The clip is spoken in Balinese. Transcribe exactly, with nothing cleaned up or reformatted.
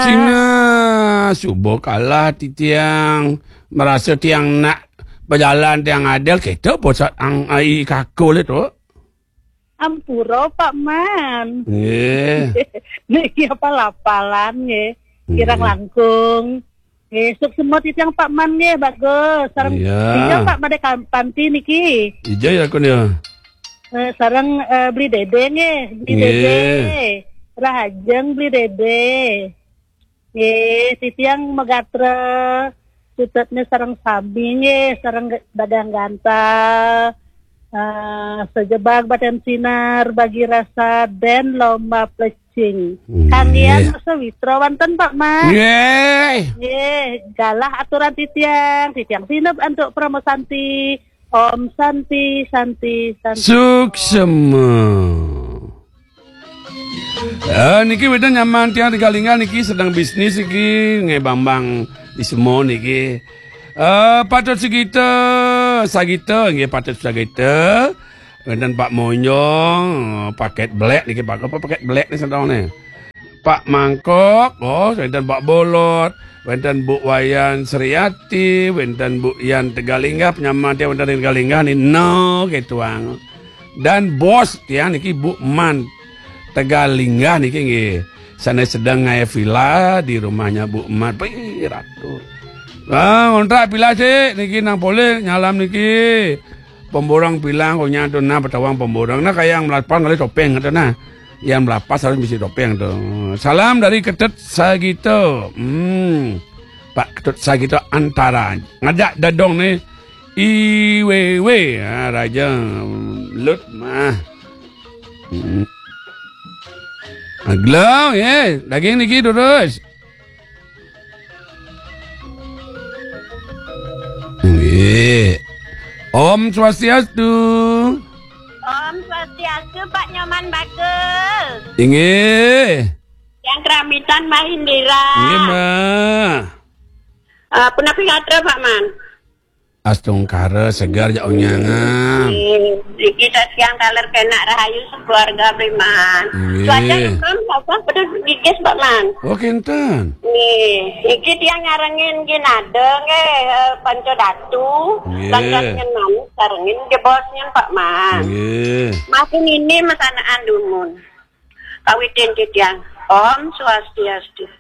Cina, suba kalah titiang. Marasa tiang nak bajalan tiang adel, kita pusat ang ai kakul itu. Ampura, Pak Man. Nggih. Niki apa lapalan nggih. Kirang langkung. Nggih, suksma titiang Pak Man nggih, bagus. Sareng iya. Dija Pak Made Kam-, Panti niki. Ija ya kun ya. Eh, sareng, eh, Beli Dede nggih, Beli Dede. Rahajeng Beli Dede. Nggih, titiang magatra sutetnya sareng sami nggih, sareng dagang gantal. Eh, sajebag badan sinar bagi rasa den lomba plecing. Nggih. Kanggian sawitra wonten Pak Man. Nggih. Nggih, galah aturan titiang, titiang sineb antuk Parama Santi. Om Santi, Santi, Santi. Suksma. Eh, niki wénten nyaman tiang Tegalinga niki sedang bisnis iki, nggih Bambang Ismo niki. Eh, patut sagita, sagita, nggih patut sagita. Wénten Pak Monjong, paket belek niki, Pak, apa paket belek ni sedang ni? Pak Mangkok, oh, wénten Pak Bolot, wénten Bu Wayan Sriati, wénten Bu Yan Tegalinga, penyaman tiang wénten Tegalinga ni, no, gitu ang. Dan bos tiang niki Bu Man Tegalinga niki nggih. Sana sedang ngaya villa di rumahnya Bu Man. Pih, ratu. Ah, ngontrak villa sih niki nang polih nyalam niki. Pemborong bilang kok nyantun nah petawang pemborong. Nah, kayak yang melapas kali topeng kata nah. Yang melapas harus bisi topeng tu. Salam dari Ketut Sagito. Hmm. Pak Ketut Sagito Antara. Ngajak dadong ni. Iwewe. Ha, raja lut mah. Hmm. Aglo, eh, daging niki terus. Nggih. Om Swastiastu. Om Swastiastu, Pak Nyoman Bagus. Inggih. Yang keramitan Mbah Indira. Inggih, Mbah. Eh, punapi gatra, Pak Man? Astungkara segar jak unyangan. Nggih, niki titiang taler kenak rahayu sekeluarga Bli Man. Nggih. Cuaca nunas sasah pedes gigis, Pak Man. Oh, kinten. Nggih, niki tiang nyarengin nggih nada nggih, eh, Panca Datu. Nggih. Lantas nyen manis sarengin nggih bos nyen, Pak Man. Nggih. Masih ini mesanaan dumun. Kawitin titiang. Om Swastiastu.